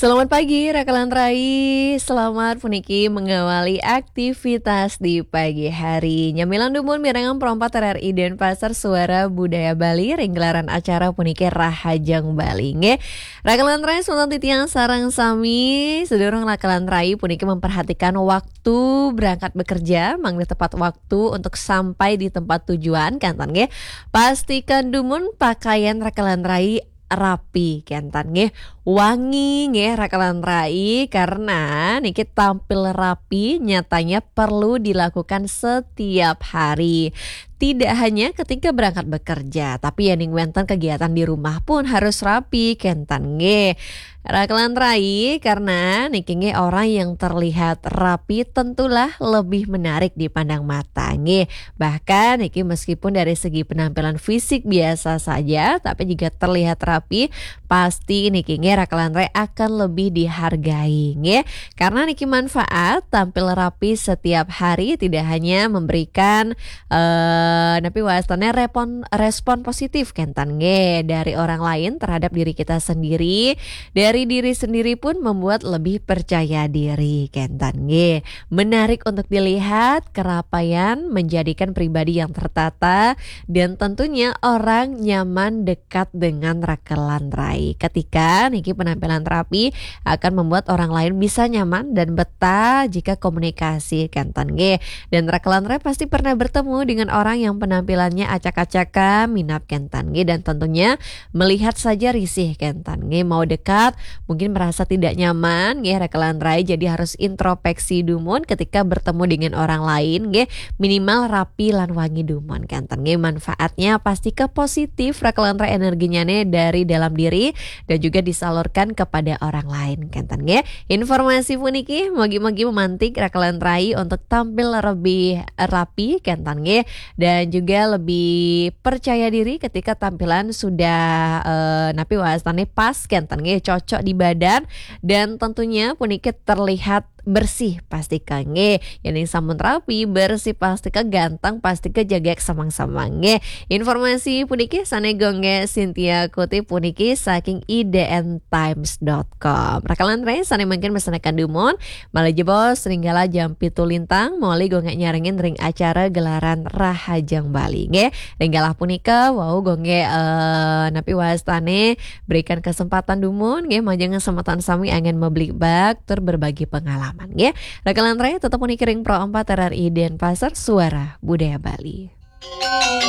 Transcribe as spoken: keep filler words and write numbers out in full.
Selamat pagi, Rakalan Rai. Selamat puniki mengawali aktivitas di pagi hari. Nyamilan dumun mirengang Pro empat R R I Denpasar, Suara Budaya Bali, ring gelaran acara puniki Rahajeng Bali. Nggih, Rakalan Rai, semanten titiang sareng sami, sedurung Rakalan Rai puniki memperhatikan waktu berangkat bekerja, mangda tepat waktu untuk sampai di tempat tujuan, kenten nggih. Pastikan dumun pakaian Rakalan Rai rapi, kenten nggih, wangi nggih, Rakalan Rai, karena niki tampil rapi nyatanya perlu dilakukan setiap hari. Tidak hanya ketika berangkat bekerja, tapi yen ing wenten kegiatan di rumah pun harus rapi, kenten nggih, Rakalan Rai, karena niki nggih orang yang terlihat rapi tentulah lebih menarik dipandang mata nggih. Bahkan niki meskipun dari segi penampilan fisik biasa saja, tapi jika terlihat rapi, pasti niki nggih Rakalan Rai akan lebih dihargai nggih. Karena niki manfaat tampil rapi setiap hari tidak hanya memberikan, eh, napi wastane repon-, respon positif, kenten nggih, dari orang lain terhadap diri kita sendiri, dari diri sendiri pun membuat lebih percaya diri, kenten nggih. Menarik untuk dilihat, kerapian menjadikan pribadi yang tertata, dan tentunya orang nyaman dekat dengan Rakalan Rai. Ketika niki penampilan rapi akan membuat orang lain bisa nyaman dan betah jika komunikasi, kenten nggih. Dan Rakalan Rai pasti pernah bertemu dengan orang yang penampilannya acak-acakan, minab, kenten nggih, dan tentunya melihat saja risih, kenten nggih. Mau dekat, mungkin merasa tidak nyaman nggih, Rakalan Rai, jadi harus introspeksi dumun ketika bertemu dengan orang lain nggih. Minimal rapi lan wangi dumun, kenten nggih. Manfaatnya pasti ke positif, Rakalan Rai, energinya nih dari dalam diri dan juga disalurkan kepada orang lain, kenten nggih. Informasi puniki mugi-mugi memantik Rakalan Rai untuk tampil lebih rapi, kenten nggih, dan juga lebih percaya diri ketika tampilan sudah, eh, napi wastane pas, kenten nggih, cocok di badan, dan tentunya puniki terlihat bersih, pasti nggih. Yen ing sampun rapi, bersih, pasti nggih, ganteng, pasti nggih, jagek samang-samang nggih. Informasi puniki sane Gung Gek Cynthia kutip puniki saking I D N times dot com. Rakalan Rai, sane mangkin mesenaken dumun, malih jebos ring galah jam pitu lintang, moli Gung Gek nyarengin ring acara gelaran Rahajeng Bali nggih. Ring galah punika wau Gung Gek, eh, napi wastane berikan kesempatan dumun nggih, majeng kesempatan sami anggen mablikbak tur berbagi pengalaman nggih. Rakalan Rai, tetep puniki ring Pro empat R R I Denpasar, Suara Budaya Bali.